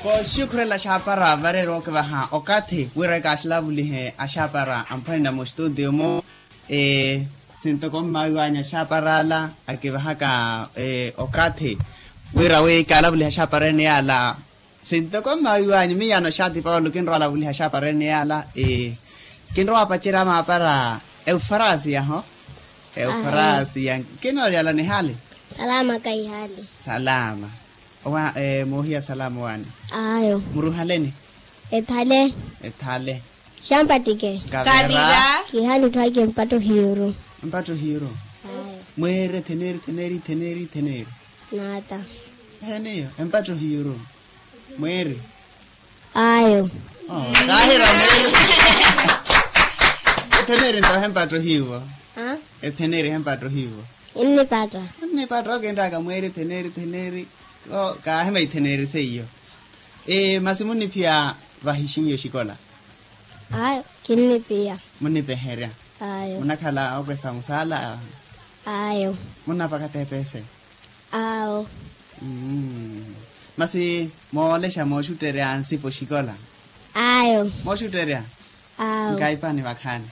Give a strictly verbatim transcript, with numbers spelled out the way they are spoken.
Oxukhurela axaapara vareera okivaha okathi wira ekaaxalavulihe axaapara amphwanina mustutiyo-mo. Sintoko mmawiwanyu axaapara ala akivahaka okathi wira wi kaalavulihe axaapara ene yaala. Sintoko mmawiwanyu miyaano xaati paulo kinrowa alavulihe axaapara ene yaala. Kinrowa apacerya amaapara eufarasiya ho. Eufarasiya. Kinoori ala nihaali? Salama kahihaali. Salama. Owa moohiya salama owaani? Ayo. Muruhaleni? Ethale. Ethale. Xampattike. Kavira. Kihaali tthwake mpatto hiyuru. Mpatto hiyuru. Ayo. Mweeri etheneri etheneri etheneri etheneri. Naata. Eheniyo empatto hiyuru. Mweeri. Ayo. Kaahira mweeri. Etheneri nto hempatto hiivo. Etheneri hempatto hiivo. Nnipatta. Nnipatta okinttaka mweeri etheneri etheneri. Kaahima etheneri seiyo. Masi munniphiya vahixinyu exikola? Ayo. Kinniphiya. Munnipeherya? Ayo. Munakhala okwesa musaala? Ayo. Munnapaka tepese? Awo. Masi moolexa mooxutterya nsipa oxikola? Ayo. Mooxutterya? Awo. Nkaipani vakhaani.